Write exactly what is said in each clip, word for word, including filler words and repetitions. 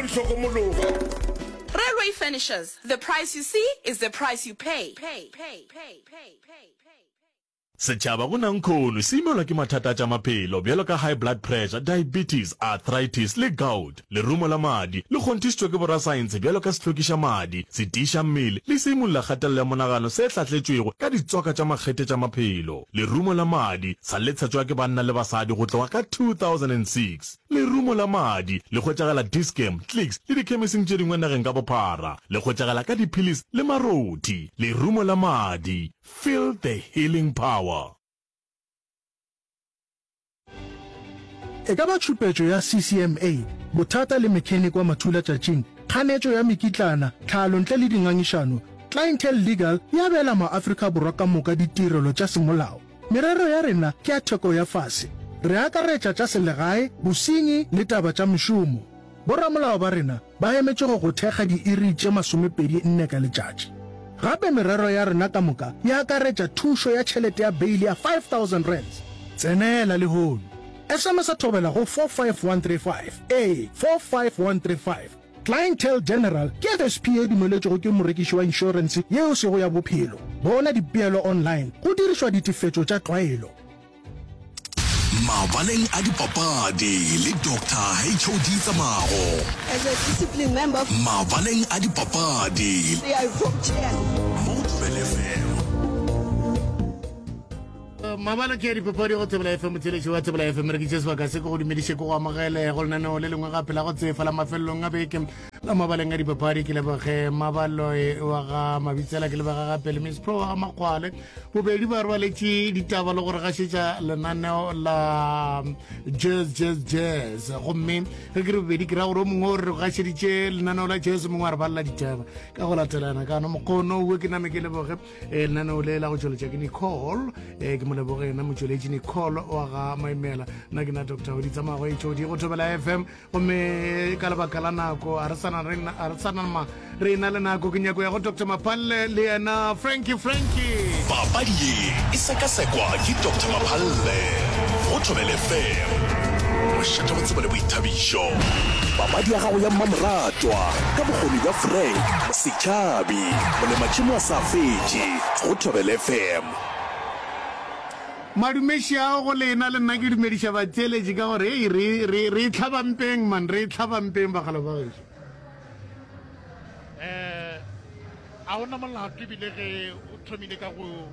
Di hlokomologa. Railway Furnishers, the price you see is the price you pay. Pay, pay, pay, pay, pay, pay. Setšhaba go nankhono se imelwa ke mathata a tša maphelo bjalo ka high blood pressure, diabetes, arthritis le gout. Lerumo la madi le kgonthišitšwe ke borasaense bjalo ka sehlokiša madi, setiiša mmele le seimolla kgatelelo ya monagano se hlahletšwego ka ditswaka tša makgethe tša maphelo. Lerumo la madi sa le tshetšwa ke banna le basadi go tloga ka two thousand and six Lerumo la madi le hwetšagala Dis-Chem, Clicks le dikhemising tše dingwe nageng ka bophara. Le hwetšagala ka diphilisi le marothi. Lerumo la madi, feel the healing power. E ka ba tšhupetšo ya C C M A, bothata le mechanic wa mathulatšatšing, kganetšo ya mekitlana, tlhalo ntle le dingangišano, Clientele Legal e abela maAfrika Borwa ka moka ditirelo tša semolao. Merero ya rena ke ya theko ya fase. Re akaretša tša selegae, bosenyi le taba tša mešomo. Boramolao ba rena ba emetše go go thekga diiri tše masomepedi nne ka letšatši. Gape merero ya rena ka moka e akaretša thušo ya tšhelete ya beili ya five thousand rands. Tsenela lehono. S M S thobela go four five one three five, ee, four five one three five. Clientele General ke F S P ye e dumeletšwego ke morekiši wa inšorense yeo e sego ya bophelo. Bona dipeelo online go dirišwa ditefetšo tša tlwaelo. Mabaleng a dipapadi le Doctor H O D Tsamago. As a discipline member. Mabaleng a dipapadi. I vote yes. Mo go Thobela F M. Mabala ke ya dipapadi go Thobela F M. Motheeletši wa Thobela F M, re ke tše sebaka se ke go dumediše, ke go amogele go lenaneo le lengwe gape la go tsefa la mafelelong a beke la Mabaleng a Dipapadi. Ke leboge Mabaloe wa ga Mabitsela, ke lebega gape le Miss Pro wa ga Makgwale, bobedi ba rwaletše ditaba le gore gašetša lenaneo la Jazz Jazz Jazz. Gomme ge ke re bobedi, ke ra gore o mongwe o re gašeditše lenaneo la jazz, mongwe a re balela ditaba ka go latelana. Ka no mokgono owe ke name ke leboge eh, lenaneo le la go tšweletša ke Nicole, eh, ke mo leboge yena motšweletši Nicole wa ga Maimela. Nna ke na Doctor Oditsamago H O D go Thobela F M. Gomme ka lebaka la nako a re sana re a re sana ma re na le nako, ke nyako ya go Doctor Maphalle le yena Frankie Frankie. Papadi ye e sekasekwa ke Doctor Maphalle go Thobela F M, mošate wa tsebo le boithabišo. Papadi ya gago ya mmamoratwa ka bokgoni bja Frank Setšhabi, molematšhemo a sa fetše go Thobela F M. Madumeši ao go lena, le nna ke dumediša batheeletši ka gore ei re re re e tlhabampeng man, re e tlhabampeng bagala ba gešo. um a ona molato ebile ge o thomile ka go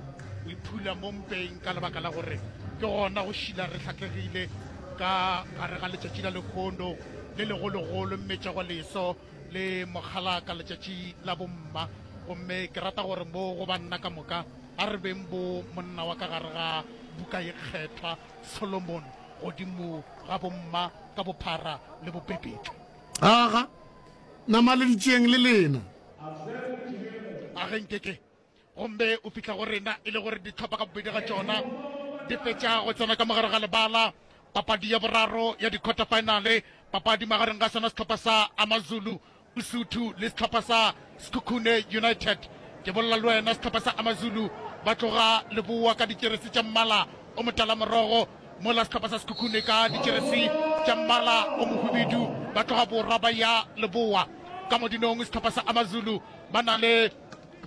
iphula mo mpeng ka lebaka la gore ke gona go šila re hlahlegile ka gare ga letšatši la lekgono le legologolo mmetšego leso le mokgalaka, letšatši la bomma. Gomme ke rata gore mo go banna ka moka a re beng bo monna wa ka gare ga buka ye kgethwa Solomon godimo ga bomma ka bophara le bopepetle. Aga namaleditšeng le lena. A ge nkeke gomme o fihla go rena e le gore ditlhopha ka bobedi ga tšona di fetša go tsena ka mogare ga lebala, papadi ya boraro ya di-quarter finale, papadi magareng ga sona sehlopha sa Amazulu Usuthu le sehlopha sa Sekhukhune United. Ke bolela le wena, sehlopha sa Amazulu ba tloga leboa ka dijeresi tša mmala o motala morogo, mola sehlopha sa Sekhukhune ka dijeresi tša mmala o mohubedu ba tloga borwa ba ya leboa. Ka modinong sehlopha sa Amazulu ba na le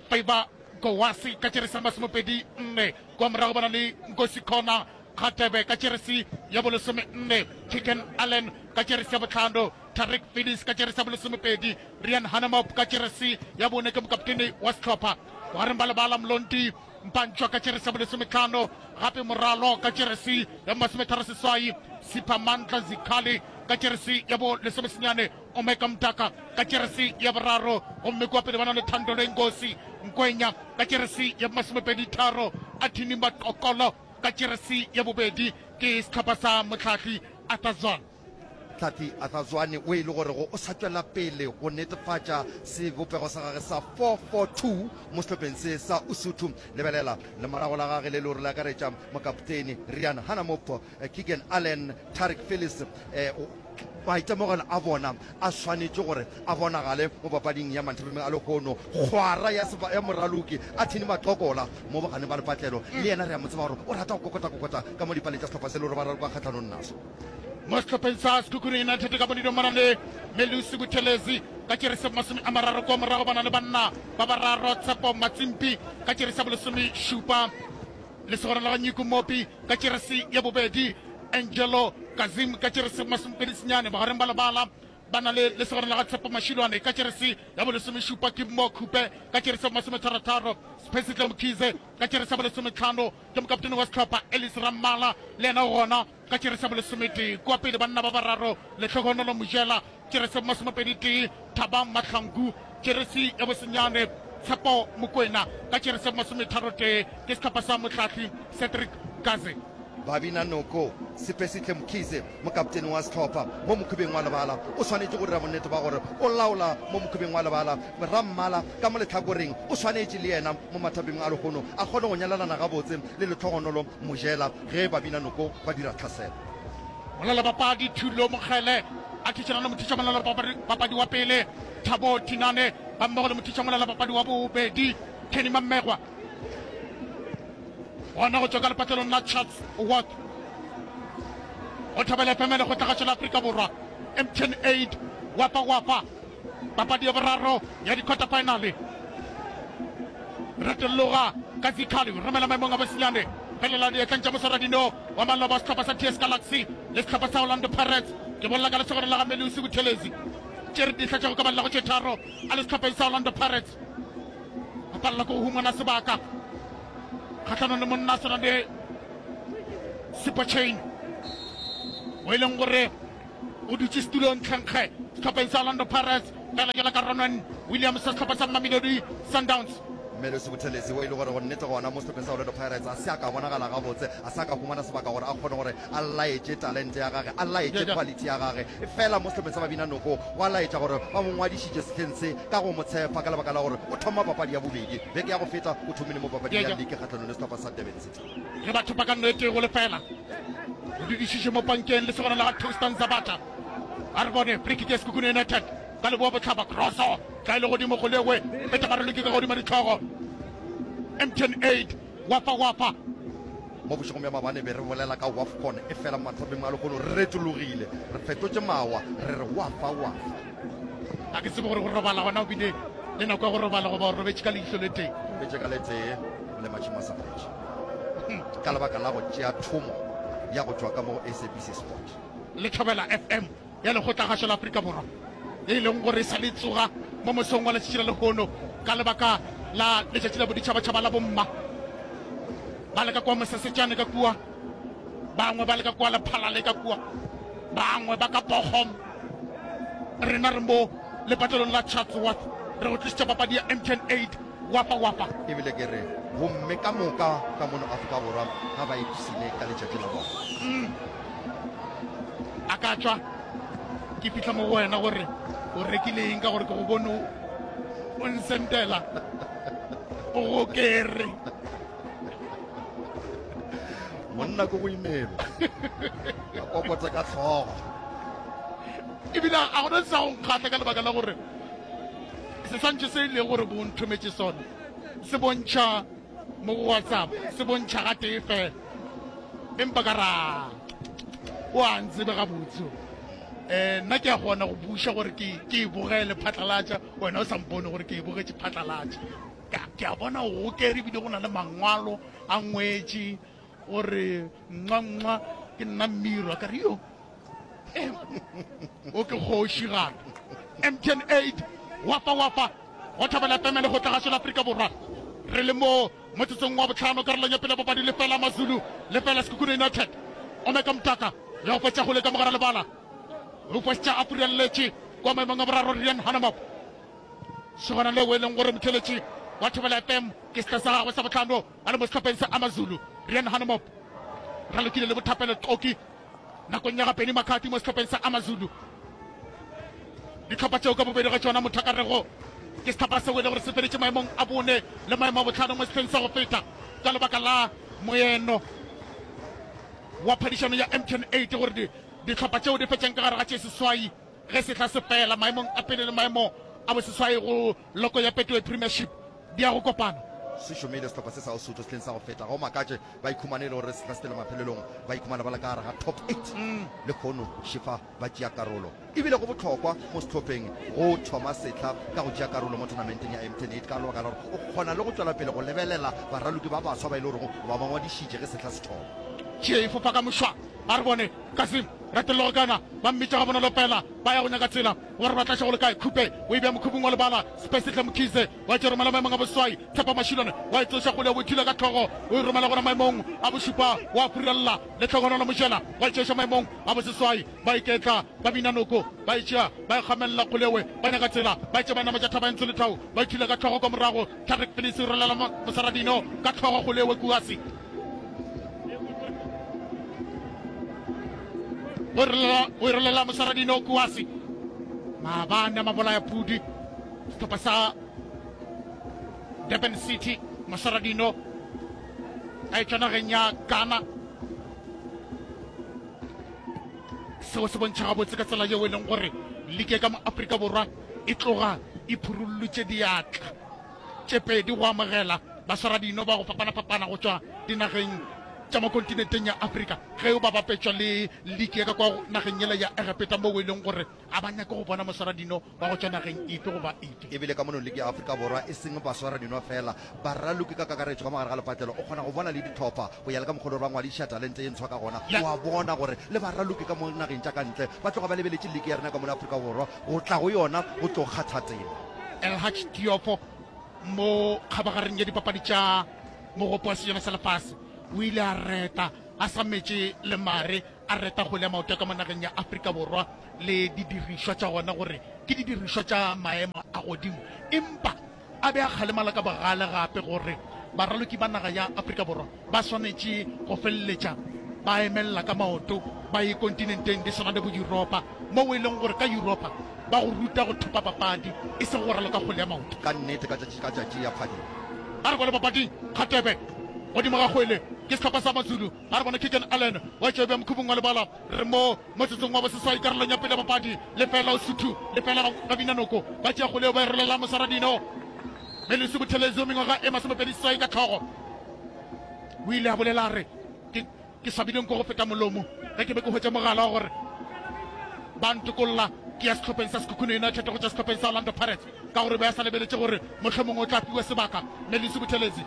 Favour Gowasi ka jeresi ya masomepedi nne, kwa morago ba na le Nkosi Khona Kgatebe ka jeresi ya bolesome nne, Chicken Allen ka jeresi ya bohlano, Tariq Phillips ka jeresi ya bolesomepedi, Rian Hanemop ka jeresi ya bone ke mokaptene wa sehlopha. Bogareng ba lebala Mlonti Mpantšwa ka jeresi ya bolesometlhano, gape Moralo ka jeresi ya masometharo seswai, Sipha Mandla Zikhali ka jeresi ya bolesomesenyane, Omeka Mtaka ka jeresi ya boraro, gomme kua pele ba na le Thando Lengosi Nkwenya ka jeresi ya masomepedi tharo, Athini Matokolo ka jeresi ya bobedi. Ke sehlopha sa mohlahli Arthur Zwane. Hlathi Arthur Zwane o e le gorego o sa tšwela pele go netefatša sebopego sa gage sa four four two mo sehlopheng se sa Usuthu. Lebelela lemorago la gage le le gore le akaretša mokaptene Rian Hanamop, Keegan Allen, Tariq Phillips. Maitemogelo a bona a swanetše gore a bonagale mo papading ya manthabimeng a lehono. Kgwara ya, ya moraloki Athini Maqokola mo boganeng ba lepatlelo, le yena re a mo tseba gore o rata go kokota-kokota ka mo dipaleng tša sehlopha se le gore ba raloka kgahlanong naso. Mo sehlopheng sa Sekhukhune United ka bonidong ba na le Melusi Buthelezi ka tšerese masome a mararo, kua morago ba na le banna ba bararo, Tshepo Matsimpi ka tšerese ya bolesome šupa, Lesogana la ga Nyiko Mopi ka tšerese ya bobedi, Angelo Kazim ka tšerese masomepedi senyane. Bogareng ba lebala ba na le Lesogana la ga Tshepo Mashilwane ka tšerese ya bolesomešupa, Kimmo Khupe ka tšerese ya bomasometharo-tharo, Siphesihle Mkhize ka tšerese ya bolesometlhano, ke mokaptene wa sehlopha Ellis Rammala le yena o gona ka tšerese ya bolesometee. Kua pele banna ba bararo, Lehlohonolo Mojela tšerese ya bomasomepedi tee, Thabang Mahlangu tšerese ya bosenyane, Tshepo Mokwena ka tšerese ya bomasometharo tee, ke sehlopha sa mohlahli Cedric Kaze. Babina Noko, Siphesihle Mkhize, mokaptene wa sehlopha mo mokhubeng wa lebala, o swanetše go dira bonnete ba gore o laola mo mokhubeng wa lebala. Rammala ka mo lehlakoreng o swanetše le yena mo mathapeng a lehono a kgone go nyalelana gabotse le Lehlogonolo Mojela ge Babina Noko ba dira tlhaselo. Molalabapadi Thulo Mokgele a thušana le mothušamolala-bapadi wa pele Thabo Thinane gammogo le mothušamolala-bapadi wa bobedi Kenny Mammegwa. Gona go tšwa ka lepatlelong la Chatsworth go Thobela F M Lekgotlagašo la Afrika Borwa M T N eight Wafa Wafa papadi ya boraro ya di-quarter final. Retologa ka Zikhali romela maemong a bosenyane felela diatleng tša moswaradino wa maloba wa sehlopha sa T S Galaxy le sehlopha sa Orlando Pirates. Ke bolela ka lesogana la ga Melusi Buthelezi tše re dihla tša go ka balela go tše tharo a le sehlopheng sa Orlando Pirates. A palela ke go humana sebaka kgahlanong le monna a swana le Sipho Chain o e leng gore o dutše setulong tlhenkge sehlopheng sa Orlando Pirates fela jalo ka Ronwen Williams sa sehlopha sa Mamelodi Sundowns. Melusi Buthelezi o e le gore go nnete gona mo sehlopheng sa Orlando Pirates a se a ka bonagala gabotse, a se a ka humana sebaka gore a kgone gore a laetše talente ya gage, a laetše quality ya gage. Efela mo sehlopheng sa Babina Noko go a laetša gore ba mo ngwadišitše sehleng se ka go mo tshepa ka lebaka la gore o thoma papadi ya bobedi. Beke ya go feta o thomile mo papading ya liki kgahlanong le sehlopha sa Durban City. Ge ba thopa ka nno e tee go lefela, o dudišiše mo pankeng lesogana la ga Toastan Zabata. A re bone free kick ya Sekhukhune United ka leboa bohlaba, crosso tla e le godimo go lewe peta baraloki ka godimo dihlogo. M T N eight Wafa Wafa. Mo bošegong bja maabane be re bolela ka WAFCON, efela mathapeng a lehono re retologile, re fetotše mawa, re re Wafa Wafa. Ga ke tsebe gore go robala gona o bile le nako ya go robala goba o robetše ka leihlo le tee. Robetše ka le tee le matšhimo a sa fetše ka lebaka la go tšea thomo ya go tšwa ka mo go S A B C Sport. Le Thobela F M ya Lekgotlagašo la Afrika Borwa ye e leng gore e sa le tsoga mo mosong wa letšatši la lehono ka lebaka la letšatši la boditšhabatšhaba la bomma. Ba le ka kua Mosesetšane ka kua, bangwe ba le ka kua Lephalale ka kua, bangwe ba ka Bochum. Rena re mo lepatlelong la Chatsworth re go tlišitša papadi ya M T N eight Wafa Wafa. Ebile ke re bomme ka moka ka mono Afrika Borwa ga ba ipshine ka letšatši la bona. Mm. A ka tšwa ke fihla mo go wena gore o rekile eng ka gore ke go bone o nsentela o gokere. Monna ko go imelwa a kokotse ka hlogo. Ebile a gona sa go nkgahla ka lebaka la gore seswantšho se e lego gore bo nthometše sona se bontšha mo go WhatsApp, se bontšha gatee fela, empa ka ra o a ntsebe gabotse. Um nna ke a kgona go buša gore ke ke e bogele phatlalatša, wena o sa mpone gore ke e bogetše phatlalatša. Ke a bona o gokere ebile go na le mangwalo a ngwetše gore nxa nxa ke nna Mmirwa, ka re yo o ke kgoši gape. M T N eight Wafa Wafa go Thobela F M le go tlagasho la Afrika Borwa. Re le mo motsotsong wa bohlano karolong ya pele ya papadi, lefela Mazulu lefela Sekhukhune United. Omeka Mtaka ya go fetša kgole ka mogara lebala, o fetša a furalletše kwa maemong a boraro Rian Hanamop. Sogana leo e leng gore motheletši wa Thobela F M ke sehla sa gagwe sa bohlano a le mo sehlopheng sa Amazulu. Rian Hanamop ralokile le Bothapelo Xoki nakong ya ga Benny McCarthy mo sehlopheng sa Amazulu. Dihlopha tšeo ka bobedi ga tšona mothakarego ke sehlopha seo e le gore se feditše maemong a bone le maemo a bohlano mo sehleng sa go feta ka lebaka la moeno wa phadišano ya M T N eight gore dihlopha tšeo di fetšang ka gare ga tše seswai ge sehla se fela maemong a pele le maemo a boseswai go loko ya Betway Premiership di ya go kopana. Se šomile sehlopha se sa Usuthu sehleng sa go feta. Ga o makatše ba ikhumane e le gore sehla se pele mafelelong ba ikhumana ba le ka gare ga top eight. Lehono Shifa ba tšea karolo. E bile go bohlokwa mo sehlopheng go thoma sehla ka go tšea karolo mo tournamenteng ya M T N eight ka lebaka la gore o kgona le go tšwela pele go lebelela baraloki ba baswa ba e le gorego o ba ba ngwadišitše ge sehla se thoma. Tšie e fofa ka mošwa. A re bone Kasim Retellogo kana ba mmitša gabonolo fela ba ya go nyaka tsela gore ba tla go le kae. Khupe o e bea mokhubung wa lebala. Spesihle Mkhize wa tše romela maemong a boseswai. Tshepo Mashilwane wa e tsoša kgole o e thula ka hlogo o e romela gona maemong a bošupa wa furella. Lehlogonolo Mojela wa e tšeša maemong a boseswai. Ba iketla ba bina noko ba e tšea ba e kgamelela kgolewe ba nyaka tsela ba e tše ba nametša thaba e ntsho le thau ba e thula ka hlogo kwa morago. Tariq Phillips o rolela Mosaradino ka hlogo kgolewe Kuasi. O e rolela Mosaradino Kuasi. Maabane a mabolaya pudi sehlopha sa Durban City Mosaradino a etšwa nageng ya Ghana. Seo se bontšha gabotse ka tsela yeo e leng gore ligi ya ka mo Afrika Borwa e tloga e phurullotše diatla tše pedi go amogela baswaradino ba go fapana-fapana go tšwa dinageng tša mo kontinenteng ya Afrika ge o ba bapetšwa le ligi ya ka kwa nageng yela ya Egepeta moo e leng gore a ba nyake go bona moswaradino wa go tšwa nageng efe goba efe. E bile ka mono ligi ya Afrika Borwa e seng baswaradino fela, baraloki ka kakaretšo ka mo gare ga lepatlelo o kgona go bona le dihlopha go ya le ka mokgwa o le gore ba ngwadiša talente ye ntshwa ka gona. O a bona gore le baraloki ka mo nageng tša ka ntle ba tloga ba lebeletše ligi ya rena ka mono Afrika Borwa go tla go yona go tlo kgatha tema. Elhadj Diopo mo kgabagareng ya dipapadi tša Mogopo wa Sejana sa Lefase o ile a reta a sa metše le mare, a reta kgwele ya maoto ya ka mo nageng ya Afrika Borwa le didirišwa tša gona gore ke didirišwa tša maemo a godimo, empa a be a kgalemala ka bogale gape gore baraloki ba naga ya Afrika Borwa ba swanetše go feleletša ba emelela ka maoto ba ye kontinenteng di swana le bo Yuropa, moo e leng gore ka Yuropa ba go ruta go thopa papadi e sego go raloka kgwele ya maoto. Ka nnete ka tšatši ka tšatši ya phadima. A re bone papading, Kgatebe godimo ga kgwele ke sehlopha sa Mazulu. A re bone Keagan Allen wa tšea bja mokhubung wa lebala. Re mo motsotsong wa boseswai karolong ya pele ya papadi. Lefela Usuthu, lefela Babinanoko. Ba tšea kgwele yeo ba e rolela Moswaradino Melusi Buthelezi wa mengwaga e masomepedi seswai ka hlogo. O ile a bolela a re, Ke, ke swabile nko go feta molomo ge ke be ke hwetša mogala wa gore ba ntokolla ke ya sehlopheng sa Sekhukhune United go tšwa sehlopheng sa Orlando Pirates ka gore be a sa lebeletše gore mohlomongwe o tla fiwa sebaka. Melusi Buthelezi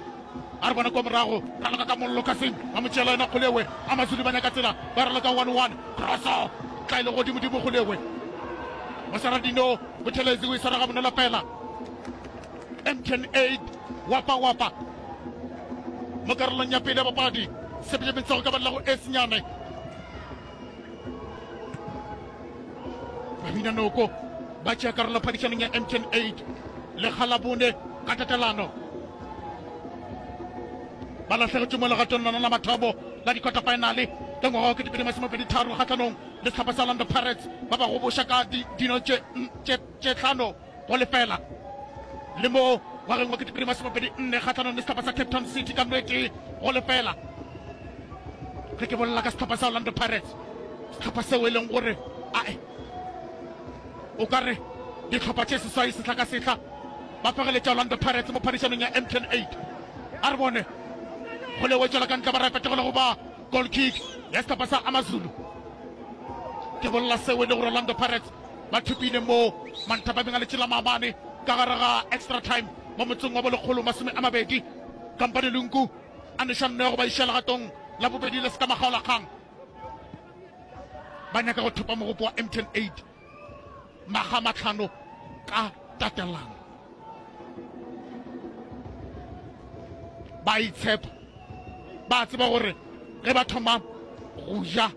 a re bona kwa morago, raloka ka mollo Kasim ba mo tšeela yona kgolewe. Amazulu ba nyaka tsela ba raloka one one crosso tla e le godimodimo kgolewe. Mosaradino Buthelezi o e swara gabonolo fela. M T N eight wapa wapa mo karolong ya pele ya papadi sepejepeng sa go ka balela go e senyane. Babina Noko ba tšea karolo phadišanong ya M T N eight lekga la bone ka tatelano. Ba lahlegetšwe mo legatong lona la mathomo la di-quarter finale ka ngwaga wa ketepedi masomepedi tharo kgahlanong le sehlopha sa Orlando Pirates ba ba goboša ka dino tše tše hlano go lefela. Le mo ngwageng wa ketepedi masomepedi nne kgahlanong le sehlopha sa Cape Town City ka nno e tee go lefela. Ge ke bolela ka sehlopha sa Orlando Pirates, sehlopha seo e leng gore ae o ka re dihlopha tše seswai sehla ka sehla ba fegeletša Orlando Pirates mo phadišanong ya M T N eight. A re bone go le wetšwela ka ntle ba repete go le go ba goal kick ya sehlopha sa Amazulu. Ke bolela seo e le gore Orlando Pirates ba thopile mo manthapameng a letše la maabane ka gare ga extra time mo motseng wa bolekgolo masome a mabedi. Kampane Lungu a neša nno ya go ba iša legatong la bobedi le seka makgaolakgang. Ba nyaka go thopa mogopo wa M T N eight makga a mahlano ka tatelano. Ba itshepa, ba tseba gore ge ba thoma go ja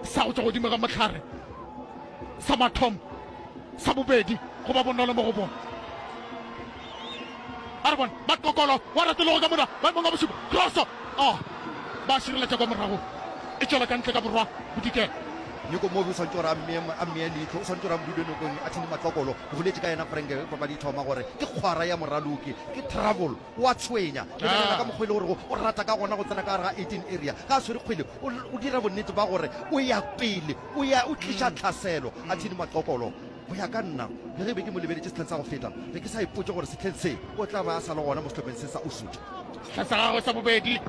sa go tšwa godimo ga mohlare sa mathomo sa bobedi go ba bonolo mo go bona. A re bone Makokolo wa retologa ka mona maemong a bošupa crosso oh, ba šireletša kwa morago e tšwela ka ntle ka borwa bodikela. Nyoko Mobi o swanetše gore a mmee leihlo, o swanetše gore a mo dule nokong a thini Matlokolo. Ke boletše ka yena Frank ge papadi e thoma gore ke kgwara ya moraloki, ke trouble, o a tshwenya. Lebelela ka mokgwa e le gore o rata ka gona go tsena ka gare ga eighteen area. Ge a swere kgwele o dira bonnete ba gore o ya pele, o ya o tliša tlhaselo. A thini Matlokolo. Go ya ka nna, le ge be ke mo lebeletše sehleng sa go feta, be ke sa ipotše gore sehleng se o tla ba a sa le gona mo sehlopheng se sa Usuthu. Sehla sa gagwe sa bobedi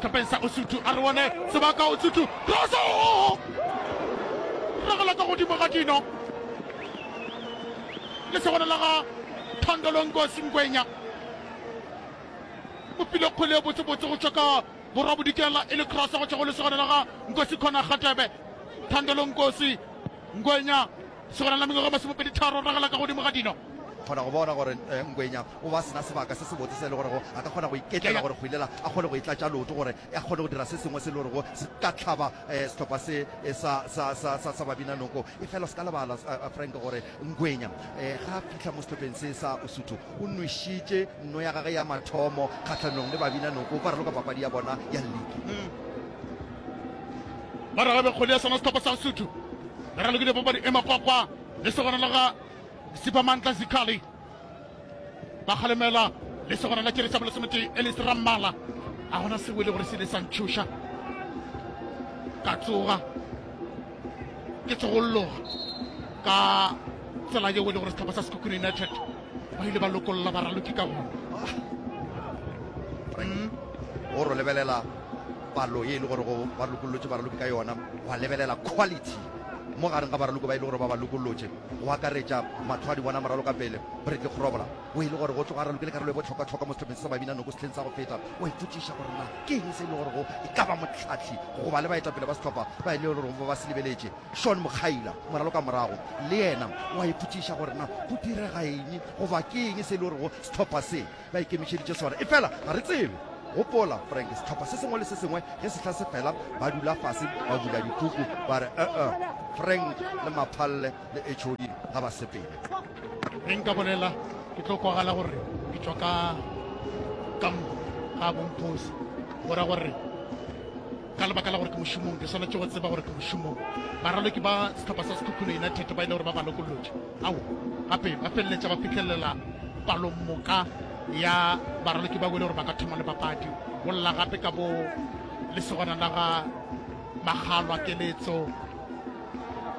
sehlopheng sa Usuthu, a re bone sebaka Usuthu, Rosso! Ragela ka godimo ga dino lesogana la ga Thandolo Nkosi Ngwenya. O file kgwele ye botsebotse go tšwa ka borwa bodikela e le cross go tšwa go lesogana la ga Nkosi Khona Kgatebe. Thandolo Nkosi Ngwenya Segona la mengwaga masomepedi tharo ragela ka godimo ga dino. Kgona go bona gore Ngwenya o ba sena sebaka se sebotse se e le gorego a ka kgona go iketlela gore kgwele a kgone go e tlatša leoto gore a kgone go dira se sengwe se e le gorego se ka hlaba sehlopha se sa, sa, sa, sa, sa Babinanoko. Efela o se ka lebala, Frank, gore Ngwenya ga a fihla mo sehlopheng se sa Usuthu o nwešitše nno ya gagwe ya mathomo kgahlanong le Babinanoko ba raloka papadi ya bona ya liki. Ba ragabe kgwele ya sona sehlopha sa Usuthu. Re ralokile papadi e makwakwa le segona la ga Siphamandla Zikhali. Ba kgalemela le segona la tšere sa bolesometee Ellis Rammala. A gona seo e le gore se ile sa ntšhoša. Ka tsoga ke tsogolloga ka tsela yeo e le gore sehlopha sa Sekhukhune United ba ile ba lokolla baraloki ka gona. O ro lebelela palo ye e le gore go ba lokollotše baraloki ka yona, gwa lebelela quality mo gareng ga baraloki ba e le gore ba ba lokollotše, go akaretša mahlo a di bona moraloka pele Bradley Grobler, o e le gore go tloga a ralokile karolo e bohlokwa-hlokwa mo sehlopheng se sa Babina Noko sehleng sa go feta. O ipotšiša gore na ke eng se e le gore go e ka ba mohlahli goba le baetapele ba sehlopha ba e le gore ba ba se lebeletše. Shawn Mokgaila, moraloka morago, le yena o a ipotšiša gore na go direga eng goba ke eng se e le gore go sehlopha se ba ikemišeditše sona. Efela ga re tsebe. Gopola, Frank, sehlopha se sengwe le se sengwe ge sehla se fela, ba dula fase, ba bula dipuku, ba re, E-e, Frank le Maphalle le H O D ga ba sepele. Ge nka bolela, ke tlo kwagala gore ke tšwa ka kampo ga bomphosi. Go ra gore ka lebaka la gore ke mošomong, ke swanetše go tseba gore ke mošomong. Baraloki ba sehlopha sa Sekhukhune United ba ile gore ba ba lokollotše. Ao, gape ba feleletša ba fihlelela palomoka ya baraloki ba wele gore ba ka thoma le papadi. Go lla gape ka bo lesogana la ga Makgalwa Keletso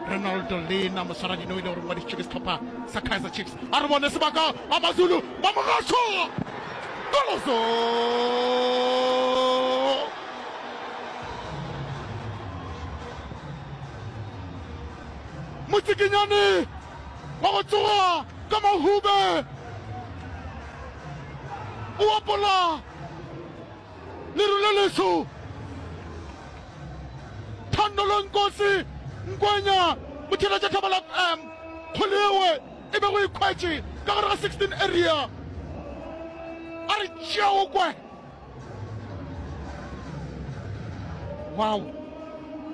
Ronaldo Lena moswaradino o ile gore ngwadišitšwe ke sehlopha sa Kaizer Chiefs. A re bone sebaka Amazulu ba mogašo Goloso Motsikinyane wa go tsoga ka mahube o apola leru le leso. Thando Lonkosi Nkwenya motheeletša Thobela F M kgole ewe e bego e khwetše ka gare ga sixteen area a re tšea o kwe. Wow!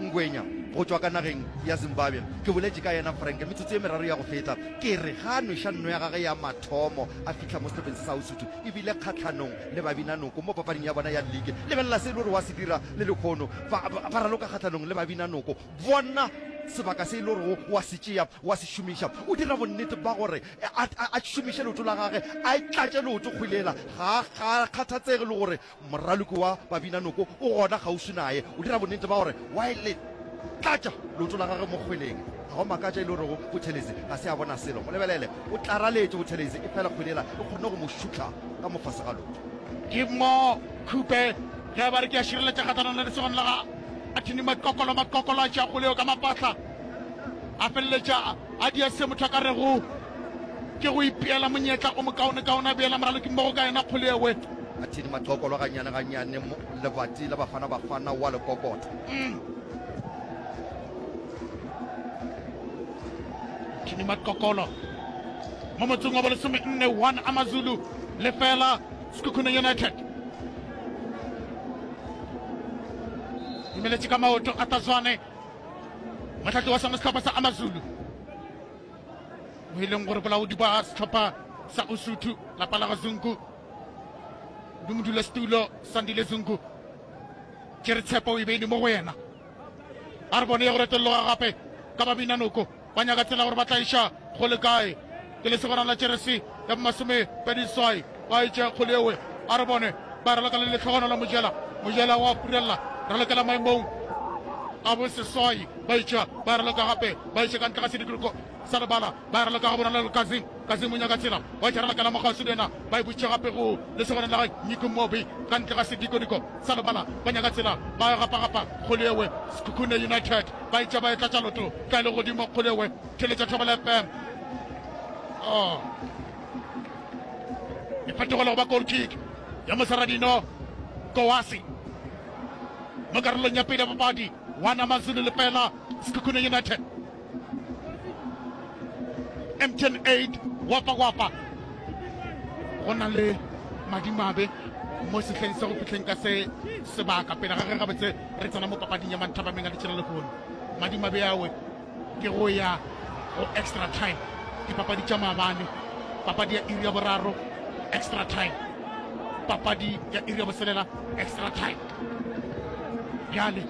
Ngwenya go tšwa ka nageng ya Zimbabwe. Ke boletše ka yena Frank metsotso ye meraro ya go feta. Ke re ga a nweša nno ya gagwe ya mathomo a fihla mo sehlopheng se sa Usuthu e bile kgahlanong le Babinanoko mo papading ya bona ya ligi. Lebelela se e le gore wa se dira le lekhono. Ba, ba, ba raloka kgahlanong le Babinanoko. Bona sebaka se e le gorego wa se tšea, wa se šomiša. O dira bonnete ba gore a, a, a šomiše leoto la gage, a e tlatše leoto kgwele yela. Ga a, ga a kgathatsege le gore Moraloki wa Babinanoko o gona kgauswi naye. O dira bonnete ba gore wa e le tlatša leoto la gagwe mo kgweleng. Ga go makatša e le gorego Buthelezi ga se a bona selo. Mo lebelele, o tlaraletše Buthelezi, efela kgwele yela e kgonne go mo šutla ka mo fase ga leoto. Ke mo Khupe ge ba re ke a šireletša kgahlanong le lesogana la ga Athini Maqokolo. Maqokolo a tšea kgwele yeo ka mapahla, a feleletša a dia se motho a ka rego ke go ipeela monyetla o mokaonekaone, a beela moralokimmogo ka yena kgwele ewe. A thedi maqokolo gannyane gannyane, lebati la Bafana Bafana wa le kokota. Mm. Thini Maqokolo mo motsong wa bolesome nne one Amazulu lefela Sekhukhune United. Dumeletše ka maoto a Tazwane mohlahli wa sona sehlopha sa Amazulu mo e leng gore bolaodi ba sehlopha sa Usuthu lapa la ga Zungu di modulasetulo Sandile Zungu tšere tshepo e beile mo go yena. A re bone ya go retolloga gape ka Babinanoko ba nyaka tsela gore ba tla iša go le kae. Ke lesogana la jeresi ya bomasome pedi swai ba etše kgole ewe. A re bone ba raloka le lehlogonolo Mojela. Mojela wa purella ralokela maemong a boseswai ba itšea ba raloka gape ba iše ka ntle ga sedikologo sa lebala ba raloka ga bonolo le Kazim Kazim o nyaka tsela wa itšha ralokela mokgauswi le yena ba e butše gape go lesogana la ga Nyiko Mobi ka ntle ga sedikodiko sa lebala ba nyaka tsela ba gapagapa kgole ewe Sekhukhune United ba itša ba e tlatša loto tla e le godimo kgole ewe theletša Thobela F M oh e fetogela go ba goal kick ya Mosaradino Kowasi mo karolong ya pele ya papadi one Amazulu lefela Sekhukhune United M T N eight wapa wapa go na le madimabe mo sehleng se go fihleng ka se sebaka pele ga ge gabotse re tsena mo papading ya manthapameng a letšela lehono madimabe awe ke go ya go extra time dipapadi tša maabane papadi ya iri ya boraro extra time papadi ya iri ya boselela extra time bjale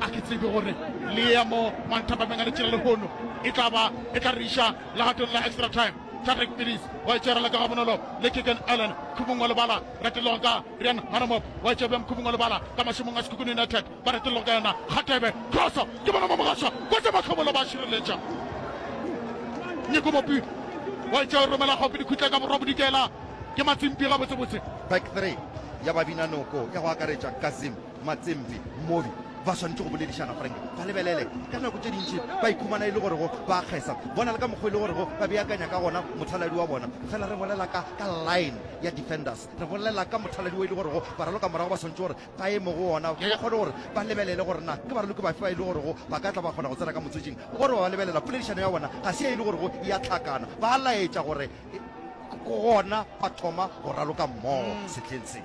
a ke tsebe gore le ya mo manthapameng a letšela lehono e tla ba e tla re iša legatong la extra time Tarek Pilis wa itšerela ka gabonolo le Keegan Allen khubung wa lebala retellogo ka Rian Hanamop wa itšea bjang khubung wa lebala ka mašemong a Sekhukhune United ba retellogo ka yona Kgatebe crosso ke bona mo mogašwa kwetša mahlobolo ba šireletša Nyeko Mopi wa itšea o romela gaufi dikhutla ka borwa bodikela ke Matsimpi gabotsebotse back three ya babinanoko ya go akaretša Kazim Matsimpi Mobi ba swanetše go boledišana Frank ba lebelele ka nako tše dintši ba ikhumana e le gorego ba kgesa bona le ka mokgwa e le gorego ba beakanya ka gona mothaladi wa bona fela re bolela ka ka line ya defenders re bolela ka mothaladi wo e le gorego baraloka morago ba swanetše gore ba eme go ona ba kgone gore ba lebelele gore na ke baraloki bafe ba e le gorego ba ka tla ba kgona go tsena ka motswetšing gore ba lebelela poledišano ya bona ga se e le gorego ya tlhakana ba laetša gore gona ba thoma go raloka mmogo sehleng se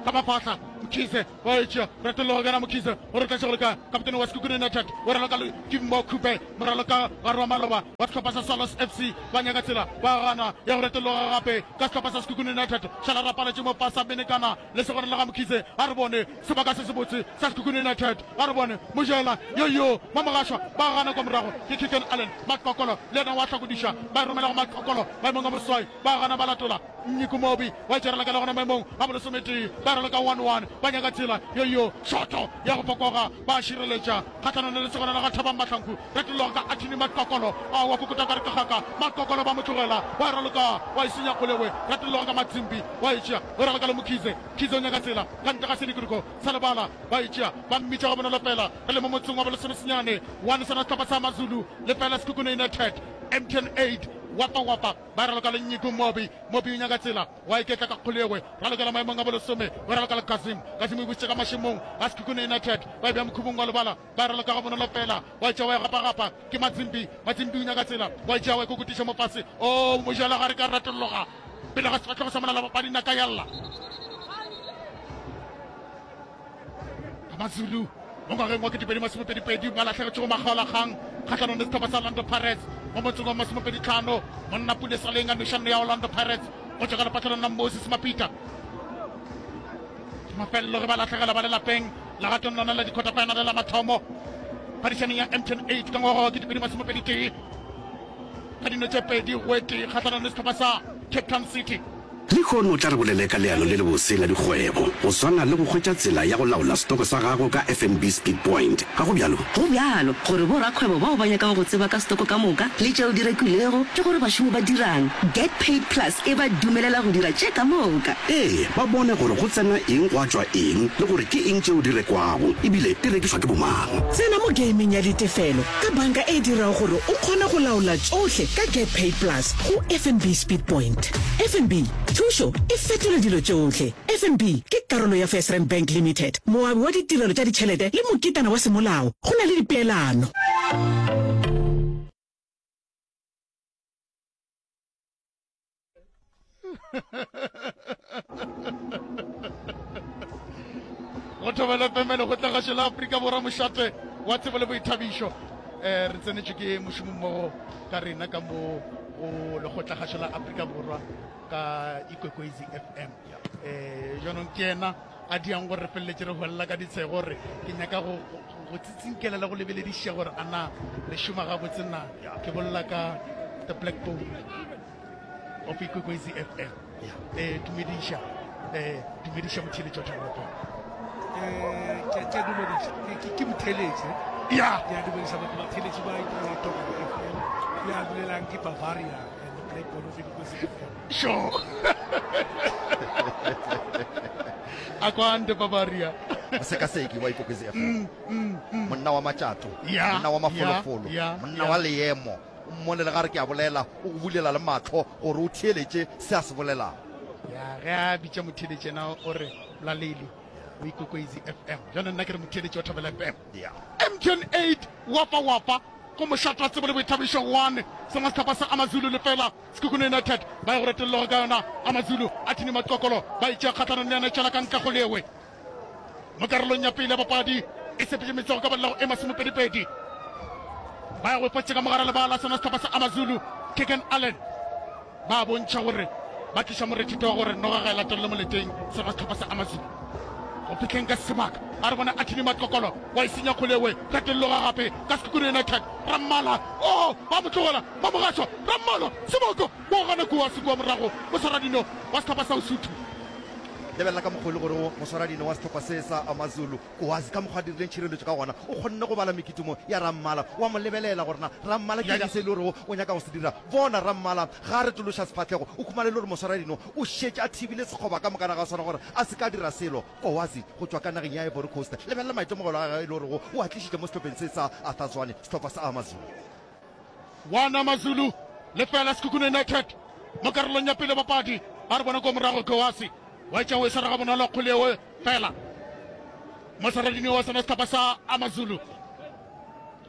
ka mafahla Mkhize wa etšea retologo kana Mkhize gore tlatše gore ka kaptene wa Sekhukhune United o raloka le Kimbo Khupe moraloka gare wa maloba wa sehlopha sa Swallows F C ba nyaka tsela ba gana ya go retologa gape ka sehlopha sa Sekhukhune United šala rapaletše mo pasa menekana le segona la ga Mkhize a re bone sebaka se sebotse sa Sekhukhune United a re bone Mojela yo yo Mamogašwa ba gana kwa morago ke Keegan Allen Matlokolo le yena wa hlakodiša ba e romela go Matlokolo maemong a boswai ba gana ba latola Nyiko Mobi wa itšerela ka le gona maemong a bolesometee ba raloka one one ba nyaka tsela yo yo shoto ya go fokoga ba šireletša kgahlanong le lesogana la ga Thabang Mahlangu retologa ka Athini Matlokolo a wa kokota ka re ke gaka Matlokolo ba mo tlogela wa raloka wa e senya kgolewe retologa ka Matsimbi wa e tšea o raloka le Mokhize Khize o nyaka tsela ka ntle ga sedikodiko sa lebala ba e tšea ba mmitša ga bonolo fela re le mo motseng wa bolesomesenyane one sona sehlopha sa Mazulu lefela Sekhukhune United M T N eight wapa wapa ba raloka le Nyiko Mobi Mobi o nyaka tsela wa iketla ka kgolegwe ralokela maemong a bolesome o raloka le Kazim Kazim o bušitše ka mašemong a Sekhukhune United ba e bea mokhubung wa lebala ba raloka ga bonolo fela wa etša wa e gapagapa ke Matsimbi Matsimbi o nyaka tsela wa etša wa e kokotiša mo fase o mojela gare ka ratologa pele ga sefahlego sa molala bapadi naka yalla Amazulu mo ngwageng wa ketepedi masomepedipedi ba lahlegetšego makgaolakgang kgahlanong le sehlopha sa Orlando Pirates mo motseng wa masomepedi tlhano monna Pule Saleng a nwešano ya Orlando Pirates go tšwa ka lepatlelong la Moses Mapita mafelelo ge ba lahlegela ba le lapeng legatong lona la di-quarter final la mathomo phadišanong ya M T N eight ka ngwaga wa ketepedi masomepedi tee ka dino tše pedi go e tee kgahlanong le sehlopha sa Cape Town City. Lehono o tla re bolele ka leano le lebose la dikgwebo, go swana le go hwetša tsela ya go laola setoko sa gago ka F N B Speed Point. Ga go bjalo? Go bjalo gore borakgwebo bao ba nyakago go tseba ka setoko ka moka le tšeo di rekilwego le gore bašomi ba dirang, Get Paid Plus e ba dumelela go dira tše ka moka. Ee, ba bone gore go tsena eng gwa tšwa eng le gore ke eng tšeo di rekwago e bile di rekišwa ke bomang. Tsena mo gameng ya ditefelo ka banka e dirago gore o kgone go laola tšohle ka Get Paid Plus go F N B Speed Point. F N B, thušo e fetola dilo tšohle. F N B ke karolo ya FirstRand Bank Limited, moabi wa ditirelo tša ditšhelete le moketana wa semolao. Go na le dipeelano. Go thobela F M lekgotlagašo la Afrika Borwa mošate wa tsebo le boithabišo. Eh, re tsenetšwe ke mošomommogo ka rena ka mo go lekgotlagašo la Afrika Borwa ka Ikwekwezi F M. Eh, jaanong ke yena a diang gore re feleletše re hwelela ka ditshego gore ke nyaka go, go, go tsitsinkela le go lebelediša gore a na re šoma gabotse na. Ke bolela ka the Black Bone of Ikwekwezi F M. Eh, dumediša, eh, dumediša motheeletši wa Thobela F M. Eh, ke ke a dumediša Ke- ke- ke motheletši Ya. Ke a dumediša batho batheletši ba Thobela F M ya dulelang ke Bavaria and the Blackboard of Ikwekwezi F M. Sure. Akwande Bavaria. Mosekaseki wa Ikwekwezi F M. Mm, mm, mm. Monna wa matšato. Ya, Monna wa mafolofolo. ya, ya, Monna ya. wa leemo. O mmone le gare ke a bolela, o go bulela le mahlo gore o theeletše se a se bolelago. Ya, ge a bitša motheeletši yena o re Mlaleli o Ikwekwezi F M. Jwale nna ke re motheeletši wa Thobela F M. Ya. M T N eight, Wafa Wafa, go mošate wa tsebo le boithabišo one, sengwe sehlopha sa Amazulu lefela, Sekhukhune United ba ya go retolloga ka yona. Amazulu a thini maqokolo, ba itšea kgahlanong le yona e tšwela ka ntle go lewe. Mo karolong ya pele ya papadi e sepetše metsogo ka bolelago e masomepedipedi. Ba ya go ipotša ka mogare lebala sona sehlopha sa Amazulu, Keegan Allen. Ba bontšha gore ba tliša morethetho wa gore noga ga e latelele moleteng sona sehlopha sa Amazulu. Go fihleng ka sebaka a re bona a thini maqokolo wa e senya kgolewe retolloga gape ka Sekhukhune United. Rammala, oh, ba mo tlogela, ba mo gašwa. Rammala, sebaka, wa gana kua se kua morago moswaradino wa sehlopha sa Usuthu. Lebelela ka mokgwa e le gore moswaradino wa sehlopha se sa Amazulu, Kowazi, ka mokgwa a dirileng tšhireletšo ka gona, o kgonne go bala mekitimo ya Rammala. Wa mo lebelela gore na Rammala ke eng se e le gorego o nyaka go se dira. Bona, Rammala ga a retološa sefahlego, o khumane e le gore moswaradino o šetše a thibile sekgoba ka mokana ga sona gore a se ka dira selo. Kowazi go tšwa ka nageng ya Ivory Coast, lebelela maitemogelo a gagwe e le gorego o a tlišitše mo sehlopheng se sa Arthur Zwane, sehlopha sa Amazulu. One Amazulu lefela Sekhukhune United mo karolong ya pele papadi. A re bona ko morago Kowazi wa etša o e swara gabonolo kgole eo fela. Moswaradino wa sona sehlopha sa Amazulu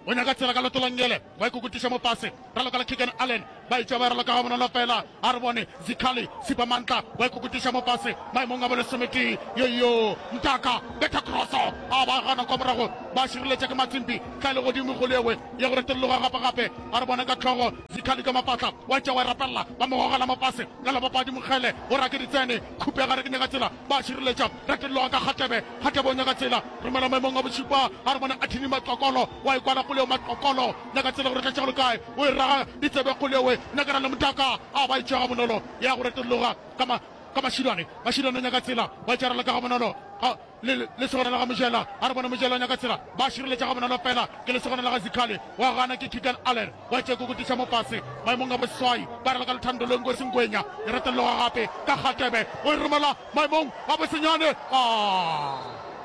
o nyaka tsela ka leoto la nngele, wa ikokotiša mo fase, raloka le Keegan Allen, ba etša ba raloka gabonolo fela. A re bone Zikhali Sipamantla wa ikokotiša mo fase maemong a bolesometee. Yoyo Mtaka betha crosso, a ba gana kwa morago, ba šireletša ke Matsimbi, tla le godimo kgole ewe ya go retolloga gape gape. A re bone ka hlogo Zikhali ka mafahla, wa etša wa e rapelela, ba mo gogela mo fase ka la bapadi Mokgele o rake ditsene, Khupe gare ke nyaka tsela, ba šireletša, retolloga ka Kgatebe, Kgatebe o nyaka tsela, romela maemong a bošupa. A re bone Athini Maqokolo wa e kwala kgole eo, Maqokolo nyaka tsela gore tlatša go le kae, o e raga ditsebe kgole ewe, nyakana le Motaka, a ba e tšea gabonolo ya go retolloga ka ma ka Mašilwane, Mašilwane o nyaka tsela, wa e tšarela ka gabonolo ga le lesogana la ga Mojela, a re bone Mojela o nyaka tsela, ba šireletša gabonolo fela ke lesogana la ga Zikhali, wa gana ke Keegan Allen, wa tšea kokotiša mo fase maemong a boseswai, ba raloka Lethando Lengosi Ngwenya, e retolloga gape ka Kgatebe, o e romela maemong a bosenyane, a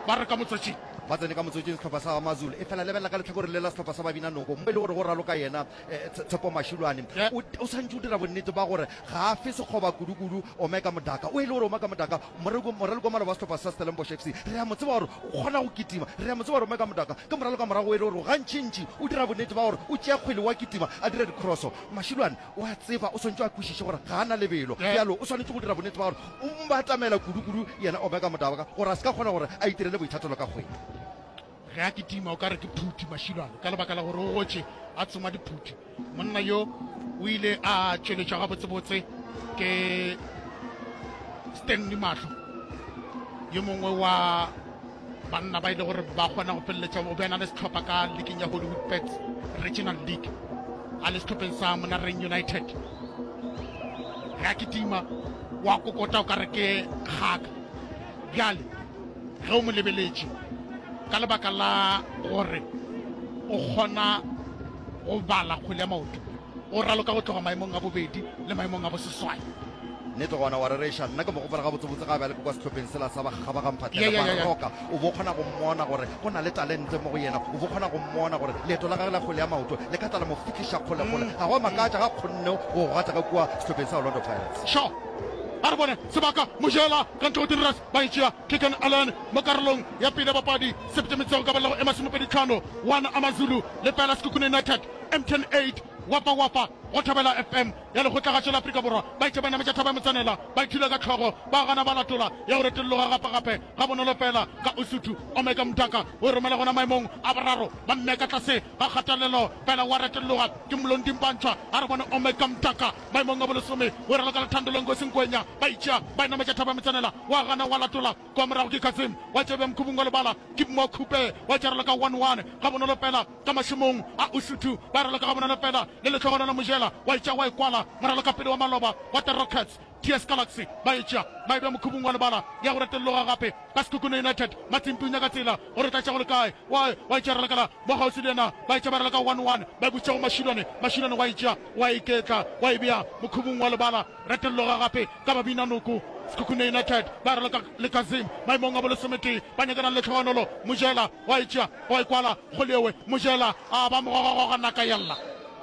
ba re ka motswetšing. Ba tsene ka motswetšing sehlopha sa Amazulu, efela lebelela ka lehlakoreng le la sehlopha sa Babinanoko mo e le gore go raloka yena Tshepo Mashilwane. O, o swantše o dira bonnete ba gore ga a fe sekgoba kudu-kudu Omega Modaka. O e le gore Omega Modaka, moraloki, moraloki wa maloba wa sehlopha sa Stellenbosch F C, re a mo tseba gore o kgona go kitima. Re a mo tseba gore Omega Modaka ke moraloka morago o e le gore gantši-ntši o dira bonnete ba gore o tšea kgwele wa kitima a dira dikroso. Mashilwane o a tseba, o swantše a kwešiše gore ga a na lebelo. Bjalo o swanetše go dira bonnete ba gore o mo batamela kudu-kudu yena Omega Modaka gore a se ka kgona gore a itirele boithatelo ka kgwele. Ge a kitima o ka re ke phuthi Mashilwane ka lebaka la gore o gotše a tsoma diphuthi. Monna yo o ile a tšweletšwa gabotsebotse ke Stanley Mahlo, yo mongwe wa banna ba ile gore ba kgona go feleletša o be a na le sehlopha ka leaking ya Hollywood Bets Regional League a le sehlopheng sa Monareng United. Ge a kitima wa kokota o ka re ke kgaka. Bjale ge o mo lebeletše ka lebaka la gore o kgona go bala kgwele ya maoto, o raloka go tloga maemong a bobedi le maemong a boseswai. Nnete gona wa rereša, nna ke mo gopola gabotsebotse ga a be a le kwa sehlopheng sela sa Bakgabaga-Mphahlele, Yeah, yeah, yeah, yeah. Baroka. O bo kgona go mmona gore go na le talente mo go yena, o bo kgona go mmona gore leeto la gagwe la kgwele ya maoto le ka tla la mo fihliša kgolekgole. Ga go a makatša ga a kgonne go go gata ka kua sehlopheng sa Orlando Pirates. Sure. A re bone sebaka, Mojela ka ntle go Dirras, ba e tšea Keegan Allen mo karolong ya pele ya papadi. Sepetša metsego ka balego e masomepedi tlhano, one Amazulu lefela Sekhukhune United, M T N eight, Wafa Wafa go Thobela F M ya Lekgotlagašo la Afrika Borwa. Ba itše ba nametša thaba ya Motsanela, ba ithula ka hlogo, ba gana ba latola ya go retolloga gape-gape gabonolo fela ka Usuthu. Omega Mdaka o e romela gona maemong a boraro, ba mmea ka tlase ga kgatelelo fela wa retolloga ke Mlondi Mpantshwa. A re bone Omega Mdaka maemong a bolesome, o e raloka Lethando Lengosi Nkwenya. Ba itšea ba e nametša thaba ya Motsanela, wa gana wa latola kwa morago ke Kasim wa tšea bja Mkhubung wa lebala ke Mokhupe wa tšea raloka one one gabonolo fela ka mašemong a Usuthu. Ba raloka gabonolo fela le lehlogonolo Mojela. Mojela wa e tšea wa e kwala moralokapele wa maloba wa The Rockets. TS Galaxy ba e tšea ba e bea mokhubung wa lebala ya go retolloga gape ka Sekhukhune United. Matsimpi o nyaka tsela gore o tla tšea go le kae. Wa wa e tšea ralokela mo kgauswi le yena ba e tšea ba raloka one one ba e bušetša go Mashilwane. Mashilwane wa e tšea wa iketla wa e bea mokhubung wa lebala. Retolloga gape ka Babinanoko. Sekhukhune United ba raloka le Kazim maemong a bolesometee ba nyakana le lehlogonolo. Mojela wa e tšea wa e kwala Kgoliewe. Mojela a ba mogogogoga naka ya lla.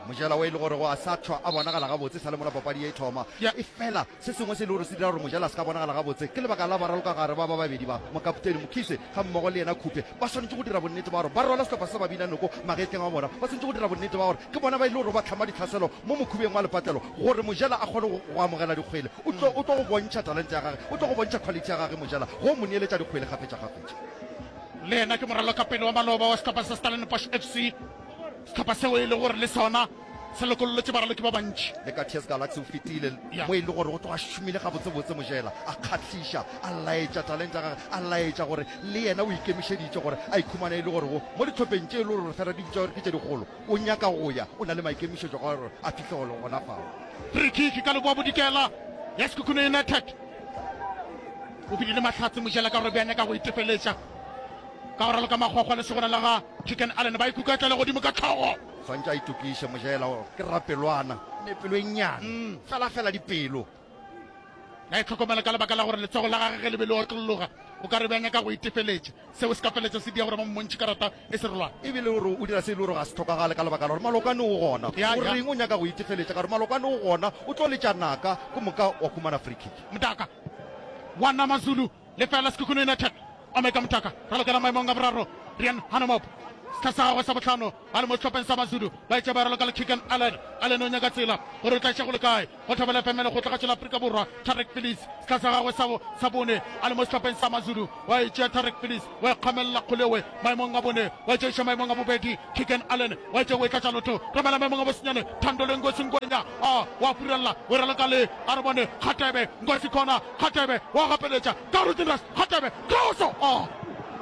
Mojela o e le gorego a sa tšhwa a bonagala gabotse sa le mola papadi ye e thoma. Efela se sengwe se e le gore se dira gore Mojela a se ka bonagala gabotse ke lebaka la baralokagare ba ba babedi ba, mokaptene Mokhize gammogo le yena Khupe, ba swanetše go dira bonnete ba gore ba rwala sehlopha sa Babinanoko magetleng a bona. Ba swanetše go dira bonnete ba gore ke bona ba e le gore ba hlama ditlhaselo mo mokhubeng wa lepatlelo gore Mojela a kgone go go amogela dikgwele. O tlo o tlo go bontšha talente ya gage, o tlo go bontšha quality ya gage Mojela go mo neeletša dikgwele kgafetšakgafetša. Le yena ke moralokapele wa maloba wa sehlopha sa Stellenbosch F C. Sehlopha seo e le gore le sona se lokollotše baraloki ba bantši. Le ka T S Galaxy o fetile mo e le gore o tloga a šomile gabotsebotse Mojela, a kgahliša, a laetša talente ya gagwe, a laetša gore le yena o ikemišeditše gore a ikhumane e le gore go mo dihlopheng tše e le gore fela di bitšwa gore ke tše dikgolo. O nyaka go ya, o na le maikemišetšo a gore a fihle gona fao. Free kick ka leboa bodikela ya Sekhukhune United. O bile le mahlatse Mojela ka gore be a nyaka go itefeletša. Ka go raloka makgwakgwa lesogana la ga Chicken Allen ba ikuketla le godimo ka tlhogo. Swantše a itokiše Mojela ke rapelwana ne pelo e nnyane fela fela dipelo. La itlhokomela ka lebaka la gore letsogo la gage ge le be le otlologa o ka re be a nyaka go itefeletša. Seo se ka feletša se dia gore ba mmontšhe karata e serolwana. E bile o re o dira se e le gore ga se hlokagale ka lebaka la gore Malokwane o gona. Ya, O ya. reng o nyaka go itefeletša ka gore Malokwane o gona o tlo letša naka ke moka wa humana free kick. Mdaka wa Namazulu Lefela Sekhukhune United Omega Motaka ralokela maemong a boraro Rian Hanomop sehla sa gagwe sa bohlano a le mo sehlopheng sa Mazulu ba etša ba raloka le Keegan Allen. Allen o nyaka tsela gore o tla iša go le kae go Thobela F M lekgotlakgatšo la Afrika Borwa. Tarek Phillies sehla sa gagwe sa sa bone a le mo sehlopheng sa Mazulu wa etšea Tarek Phillies wa ikgamelela kgolewe maemong a bone wa etša iša maemong a bobedi Keegan Allen wa etša o e tlatša lotho romela maemong a bosenyane Thando le Nkosi Ngwenya a wa furella o raloka le a re bone Kgatebe Nkosi khona Kgatebe wa gapeletša ka Rutin Rush Kgatebe Kroso a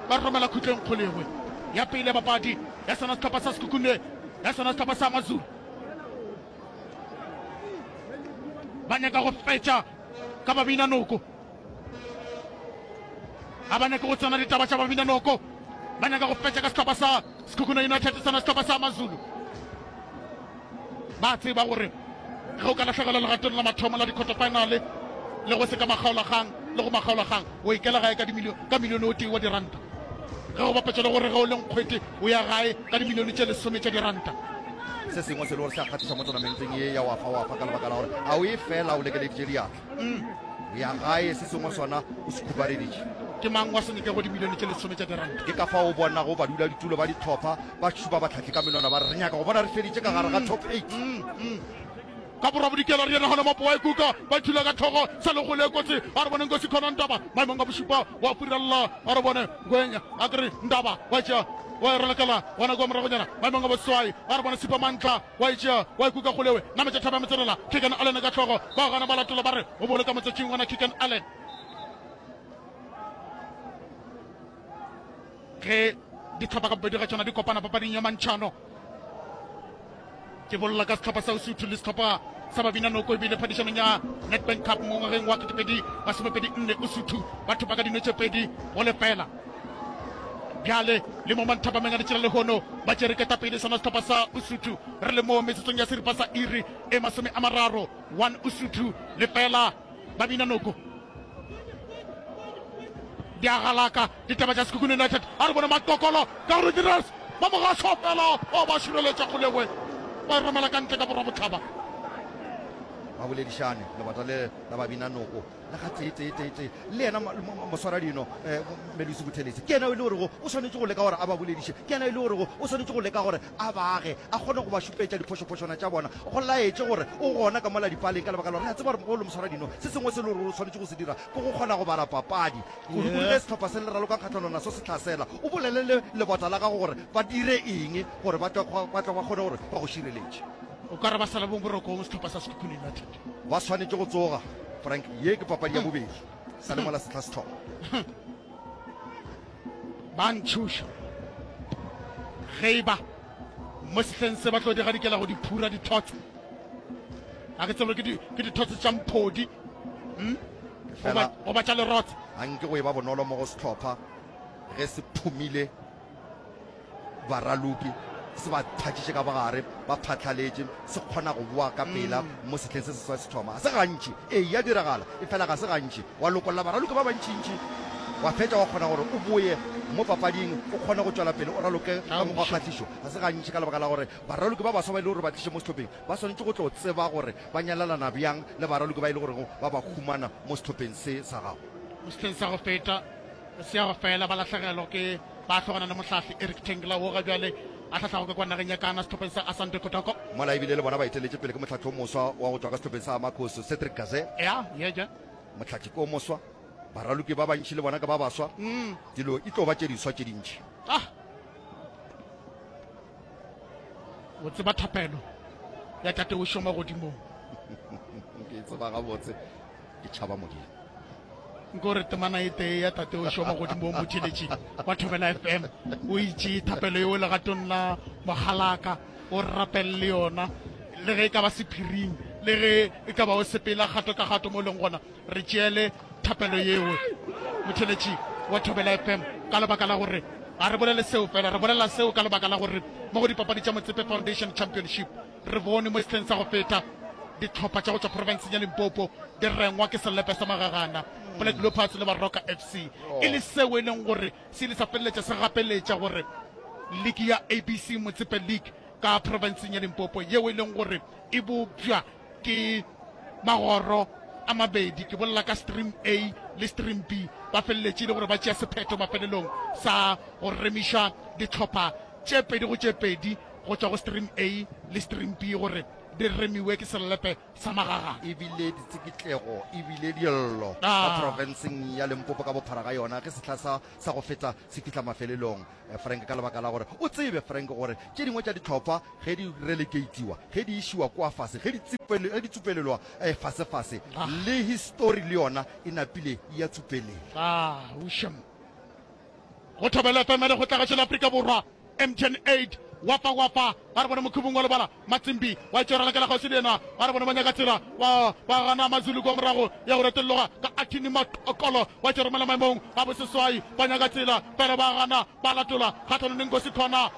ba romela khutleng kgolegwe ya pele ya papadi ya sona sehlopha sa Sekhukhune ya sona sehlopha sa Amazulu ba nyaka go fetša ka babina noko ga ba nyake go tsena ditaba tša babina noko ba nyaka go fetša ka sehlopha sa Sekhukhune United sona sehlopha sa Amazulu Ba tseba gore ge o ka lahlegelwa legatong la mathomo la di-quarter-final le go se ka makgaolakgang le go makgaolakgang, o ikela gae ka dimilio, ka milione o tee wa diranta. Ge go bapetšwa le gore ge o le nkgwete o ya gae ka dimilione tše lesome tša diranta. Se sengwe se le gore se a kgahliša mo tonamenteng ye ya Wafa Wafa ka lebaka la gore a o ye fela o lekeleditše diatla. O ya gae se sengwe sona o se khupareditše. Ke mang wa se nyakego dimilione tše lesome tša diranta? Ke ka fao o bonago baduladutulo ba dihlopha ba šupa bahlahli ka menwana ba re, Re nyaka go bona re feditše ka gare ga top eight. Ka borwa-bodikela re yena gona Mapo wa ikuka, ba thula ka tlhogo sa legole e kotsi. A re bone Nkosi Khona Ndaba maemong a bošupa wa furella. A re bone Ngwenya a kere Ndaba wa tšea wa e ralokela gona kua moragonyana maemong a boseswai. A re bone Sipho Mantla wa e tšea wa ikuka kgolewe nametša thaba ya motsenela. Keegan Allen ka tlhogo ba gana ba latola ba re o boloka motšatšing gona Keegan Allen. Ge dihlopha ka bobedi ga tšona di kopana papading ya mantšhano, ke bolela ka sehlopha sa Usuthu le sehlopha sa Babina Noko ebile phadišanong ya Nedbank Cup mo ngwageng wa ketepedi masomepedi nne Usuthu ba thopa ka dino tše pedi go lefela. Bjale le mo manthapameng a letšela lehono ba tšere ketapele sona sehlopha sa Usuthu re le mo metsotsong ya seripa sa iri e masome a mararo one Usuthu lefela Babina Noko. Di a galaka ditaba tša Sekhukhune United. A re bone Matokolo ka gore Dirers ba mo gašwa fela o ba šireletša kgolegwe ba e romela ka ntle ka borwa bohlaba. Ba boledišane lebota le la Babina Noko le ga tee tee tee tee le yena moswaradino eh, Melusi Buthelezi ke yena e le gorego o swanetše go leka gore a ba bolediše, ke yena e le gorego o swanetše go leka gore a ba age a kgone go ba šupetša diphošophošwana tša bona go laetše gore o gona ka mola dipaleng ka lebaka la gore re a tseba gore mogolo moswaradino se sengwe se le gore o swanetše go se dira ke go kgona go bala papadi kudukudu ge sehlopha se le raloka kgahlano naso se hlasela o bolele le lebota la gago gore ba dire eng gore ba tle ba tle ba kgone gore ba go šireletše. O ka re ba sa le borokong sehlopha sa Sekhukhune United. Ba swanetše go tsoga Frank, ye ke papadi ya bobedi sa le mola sehla se thoma. Ba ntšhoša ge e ba mo sehleng se ba tlo di gadikela go di phura dithotse. Ga ke tsebe ke di ke dithotse tša mphodi. Hmm? Goba goba tša lerotse. A nke go e ba bonolo mo go sehlopha ge se phumile baraloki se ba phatšiše ka bogare, ba phatlaletše, se kgona go boa ka pela mo sehleng se seswa se thoma. Ga se gantši, ee, ya diragala, efela ga se gantši. Wa lokolla baraloki ba bantšintši, wa fetša wa kgona gore o boye mo papading, o kgone go tšwela pele o raloke ka mokgwa wa kgahlišo. Ga se gantši ka lebaka la gore baraloki ba baswa ba e le gore ba tliše mo sehlopheng ba swanetše go tlo tseba gore ba nyalelana bjang le baraloki ba e le gorego ba ba humana mo sehlopheng se sa gago. Mo sehleng sa go feta se ya go fela ba lahlegelwa ke ba hlogana le mohlahli Eric Tengla wo ga bjale a hlahlago ka kwa nageng ya Ghana sehlopheng sa Asante Kotoko. Mola ebile le bona ba eteletše pele ke mohlahli o moswa wa go tšwa ka sehlopheng sa Amakhosi Cedric Kaze. Ya, ye ja. Mohlahli ke o moswa, baraloki ba bantši le bona ke ba baswa. Dilo e tlo ba tše diswa tše dintši. Ah. O tseba thapelo ya Tate o šoma godimong. Ke e tseba gabotse, ke tšhaba Modimo. Nko re temana e tee ya Tate o šoma godimong motheletši wa Thobela F M o itše thapelo yeo legatong la mogalaka o rapelele yona le ge e ka ba sephiring le ge e ka ba o sepela kgato ka kgato mo e leng gona re tšeele thapelo yeo motheletši wa Thobela F M ka lebaka la gore ga re bolele seo fela re bolela seo ka lebaka la gore mo go dipapadi tša Motsepe Foundation Championship re bone mo sehleng sa go feta dihlopha tša go tšwa profenseng ya Limpopo di rengwa ke selepe sa magagana Black Leopards le Baroka F C e le seo e leng gore se ile sa feleletša se gapeletša gore liki ya A B C Motsepe League ka profenseng ya Limpopo yeo e leng gore e bopša ke magoro a mabedi ke bolela ka stream A le stream B ba feleletše e le gore ba tšea sephetho mafelelong sa go remiša dihlopha tše pedi go tše pedi go tšwa go stream A le stream B gore di remiwe ke selepe sa magagana. E bile ditsikitlego, e bile dillo ka profenseng ya Limpopo ka bophara ga yona ge sehla sa sa go feta se fihla mafelelong. Frank ka lebaka la gore o tsebe Frank gore tše dingwe tša dihlopha ge di relekeitiwa, ge di išiwa kua fase, ge di ge di tsupelelwa fasefase, le histori le yona e napile ya tsupelela. Ah, ušem. Go Thobela F M le go tla gašo la Afrika Borwa. M T N eight Wapa wapa ba re bone mokhubung wa lebala Matsimbi wa itšwera lakela kgauswi le yena ba re bone ba nyaka tsela ba ba gana Mazulu kwa morago ya go retolloga ka Athini Makolo wa itšwera romela maemong a boseswai ba nyaka tsela fela ba gana ba latola kgahlanong le Nkosi Khona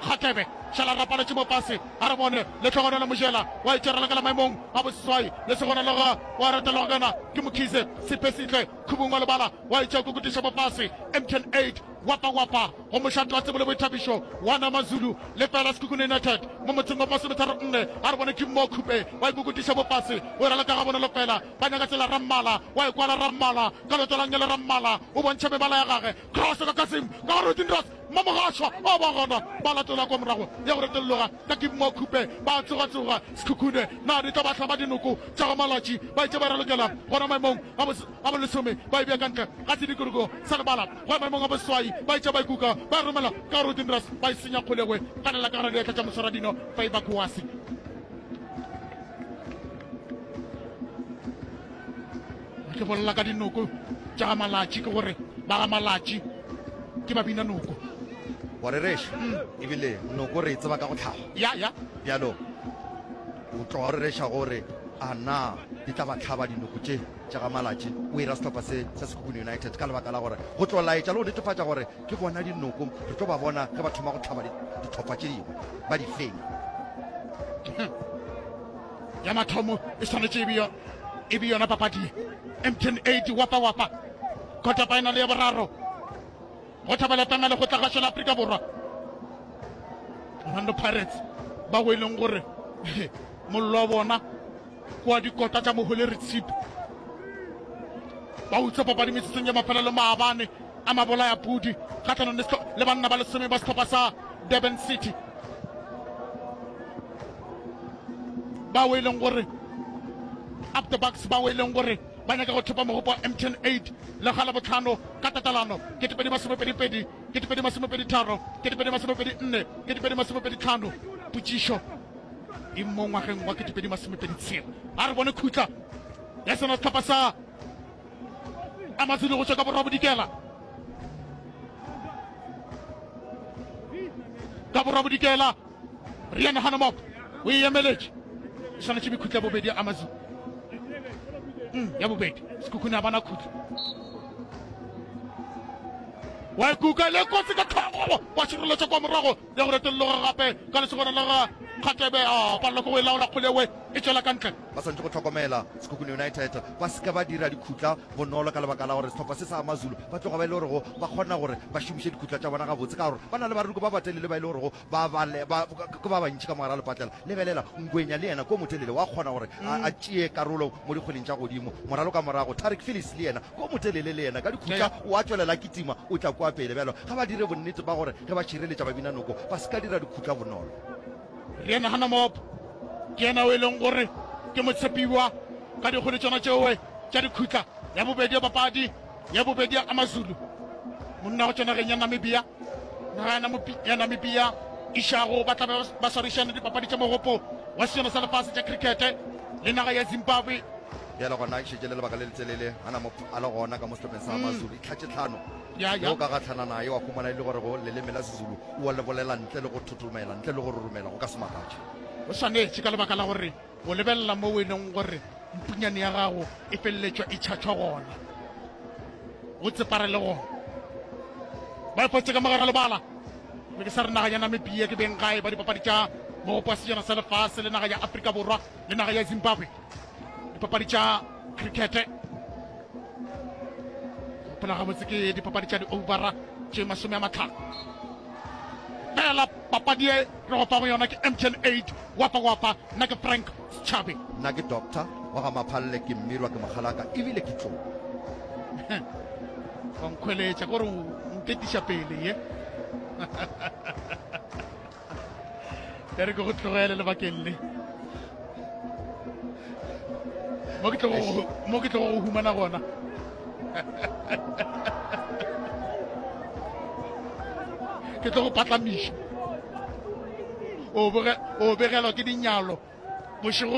Kgatlebe šala rapaletše mo fase a re bone Lehlogonolo Mojela wa itšwera lakela maemong a boseswai le segona loga wa retologa ka yena ke Mokhize Sephesihle khubung wa lebala wa itšea kukutiša mo fase M T N eight Wapa wapa go mošate wa tsebo le boithabišo wa Namazulu lefela Sekhukhune United mo motseng wa masometharo nne a re bone ke Mo Khupe wa ikokotiša bofase o raloka ga bonolo fela ba nyaka tsela Rammala wa e kwala Rammala ka leoto la nngele Rammala o bontšha mebala ya gage cross ka Kasim ka gare Rodin Ross Mmamogašwa o ba gona ba latola kwa morago ya go retolloga ka ke Mo Khupe ba tsogatsoga Sekhukhune na di tlo ba hlaba dinoko tša go Malatši ba itše ba ralokela gona maemong a a bolesome ba e bea ka ntle ga sedikologo sa lebala go ya maemong a boseswai ba etša ba ikuka ba e romela ka Rodinras ba e senya kgolegwe ganela ka gare diatla tša moswaradino Favour Kouassi. Ke bolela ka dinoko tša ga Malatši ke gore ba ga Malatši ke ba bina noko. Wa rereša ebile noko re e tseba ka go tlhago. Ya ya. Bjalo o tloga o rereša gore a na di tla ba hlaba dinoko tše tša ga Malatši o ira sehlopha se sa Sekhukhune United ka lebaka la gore go tlo laetša le go netefatša gore ke bona dinoko re tlo ba bona ge ba thoma go hlaba dihlopha tše dingwe ba di fenya. Ya mathomo e swanetše e be yona papadi ye. M T N eight wapa wapa quarter final ya boraro go Thobela F M ya Lekgotlagašo la Afrika Borwa. Orlando Pirates ba go e leng gore mollo wa bona kwa dikota tša Mohole Ritshipi ba utswa papadi metsotsong ya mafelelo maabane a mabolaya pudi kgahlanong le banna ba lesome ba sehlopha sa Durban City bao e leng gore up the bucks bao e leng gore ba nyaka go thopa mogopo wa M T N eight lekga la botlhano ka tatelano ketepedi masomepedi pedi ketepedi masomepedi tharo ketepedi masomepedi nne ketepedi masomepedi tlhano potšišo e mo ngwageng wa ketepedi masomepedi tshela a re bone khutla ya sona sehlopha sa Amazulu go tšwa ka borwa bodikela ka borwa bodikela Rian Hanomok o e emeletše Swanetše be khutla bobedi ya Amazulu. Mm, ya bobedi. Sekhukhune a bana khutla. Wa ikuka le kotsi ka tlhogo wa šireletša kwa morago ya go retolloga gape ka lesogana la ga Kgatebe a palelwa ke go e laola kgole e tšwela ka ntle. Ba swanetše go hlokomela Sekhukhune United ba se ke ba dira dikhutla bonolo ka lebaka la gore sehlopha se sa AmaZulu ba tloga ba e le gorego ba kgona gore ba šomiše dikhutla tša bona gabotse ka gore ba na le baraloki ba batelele ba e le gorego ba ba ba ke ba bantši ka mogare ga lepatlela. Lebelela, Ngwenya le yena ko motelele wa kgona gore a a tšee karolo mo dikgweleng tša godimo. Moralo ka morago, Tarik Phillips le yena ko motelele le yena ka dikhutla o a tšwelela a kitima o tla kua pele. Bjalo ga ba dire bonnete ba gore ge ba šireletša babinanoko ba se ka dira dikhutla bonolo. Re nagana Mop ke yena o e leng gore ke motshepiwa ka dikgwele tšona tšeoe tša dikhutla. Ya bobedi ya papadi ya bobedi ya Amazulu, monna go tšwa nageng ya Namibia. Naga ya Namibia išago ba tla be ba swarišana dipapadi tša mogopo wa sejana sa lefase tša krikete le naga ya Zimbabwe. Bjale gona e šetše le lebaka le letelele a na a le gona ka mo sehlopheng sa Amazulu. E tlhatše tlhano. Ya, Ge ya. o ka gahlana naye wa humana e le gore go leleme la Sezulu o a le bolela ntle le go thothomela, ntle le go roromela, go ka se makatše. O swanetše ka lebaka la gore o lebelela moo e leng gore mpunyane ya gago e feleletšwa e tšhatšhwa gona, o tseparele gona. Ba e fotše ka mogare lebala. Be ke sa re naga ya Namibia ke beng gae ba dipapadi tša mogopo wa sejana sa lefase le naga ya Afrika Borwa le naga ya Zimbabwe dipapadi tša cricket. Gopola gabotse ke dipapadi tša di-overa tše masome a matlhano. Fela papadi e re go fago yona ke M T N eight wapa wapa. Nna ke Frank Setšhabe. Nna ke Doctor wa ga Maphalle, ke mmirwa, ke mokgalaka ebile ke tlou. Wa nkhweletša kore o nketiša pele ye. E re ke go tlogele lebakeng le. Mo ke tlogo mo ke tlogo go humana gona. Ke tlo go patlamiša. O bege o begelwa ke dinyalo bošego.